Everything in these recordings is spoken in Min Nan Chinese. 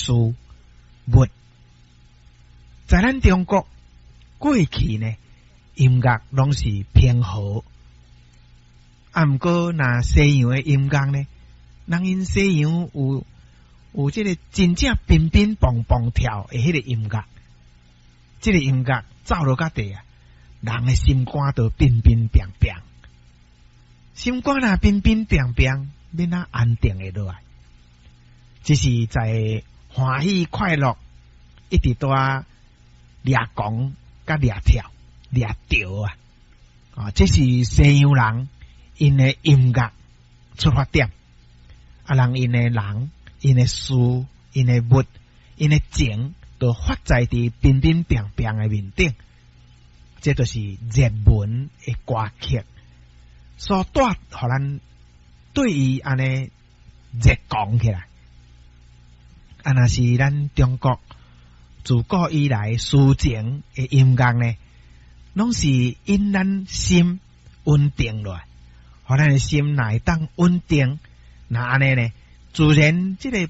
事物。在咱中國過去呢，音樂攏是平和，啊，毋過若西洋的音樂呢，人𪜶西洋有這个真正乒乒乓乓跳的彼个音樂，這个音樂走落較地啊，人的心肝都乒乒乓乓，心肝若乒乒乓乓，欲怎安定會落來？只是在歡喜快樂，一直蹛掠狂、佮掠跳、掠著啊！啊，這是西洋人𪜶的音樂出發點，啊，人𪜶的人、𪜶的事、𪜶的物、𪜶的情，都發在佇乒乒乓乓的面頂，這就是熱門的歌曲所帶予咱對伊按呢熱狂起來。啊，若是咱中國自古以來抒情的音樂呢，攏是引咱心穩定落來，予咱的心若會當穩定，若按呢呢，自然這个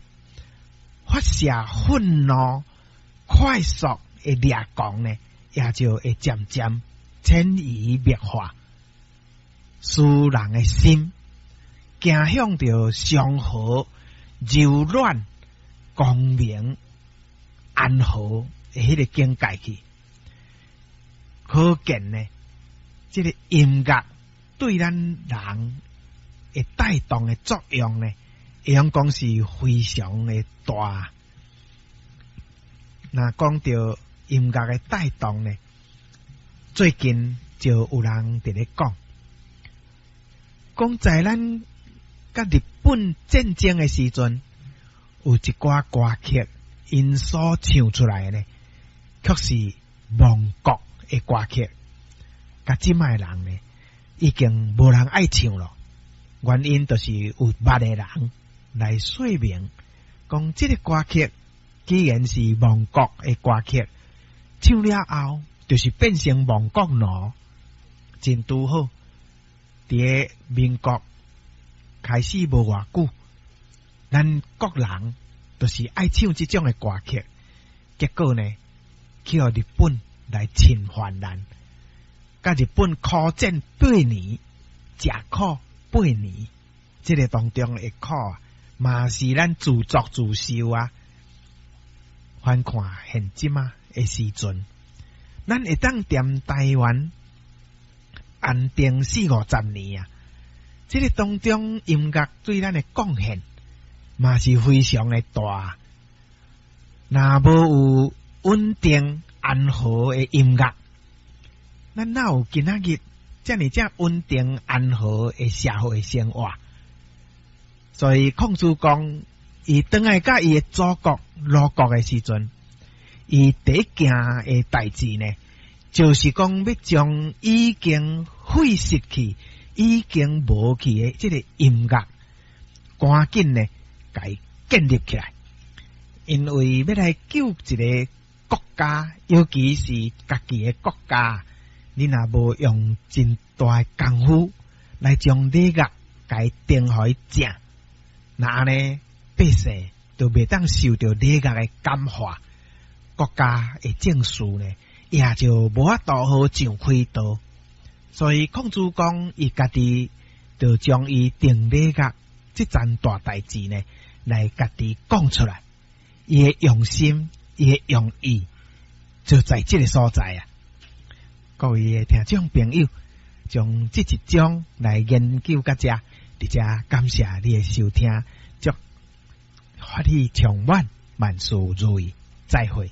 發洩憤怒、快速的掠狂呢，也就會漸漸潛移默化，使人的心行向著祥和、柔軟、光明、安和的彼个境界去。可見呢，這个音樂對咱人會帶動的作用呢，會用講是非常的大。若講著音樂的帶動呢，最近就有人佇咧講，講在咱佮日本戰爭的時陣，有一寡歌曲，𪜶所唱出來的呢，卻是亡國的歌曲，佮這擺的人呢，已經無人愛唱咯。原因就是有捌的人來說明，講這个歌曲既然是亡國的歌曲，唱了後就是變成亡國奴，真拄好。佇个民國開始無偌久，咱國人就是愛唱這種的歌曲，結果呢，去予日本來侵犯咱，佮日本苦戰八年，食苦八年，這个當中的苦啊，嘛是咱自作自受啊。翻看現今啊的時陣，咱會當踮台灣安定四五十年啊，這个當中音樂對咱的貢獻嘛是非常的大。若無有穩定安和的音樂，咱哪有今仔日遮爾遮穩定安和的社會生活？所以孔子講，伊轉來佮伊的祖國魯國的時陣，伊第一件的代誌呢，就是講欲將已經廢失去、已經無去的這个音樂，趕緊呢，共伊建立起來。因為欲來救一个國家，尤其是家己的國家，你若無用真大的功夫來將禮樂共伊定予伊正，若按呢百姓就袂當受著禮樂的感化，國家的政事呢，也就無法度好上軌道。所以孔子講，伊家己就將伊定禮樂這件大代誌呢，來家己講出來。伊的用心，伊的用意，就在這个所在啊！各位的聽眾朋友，將這一章來研究到這，佇遮感謝你的收聽，祝歡喜充滿，萬事如意，再會。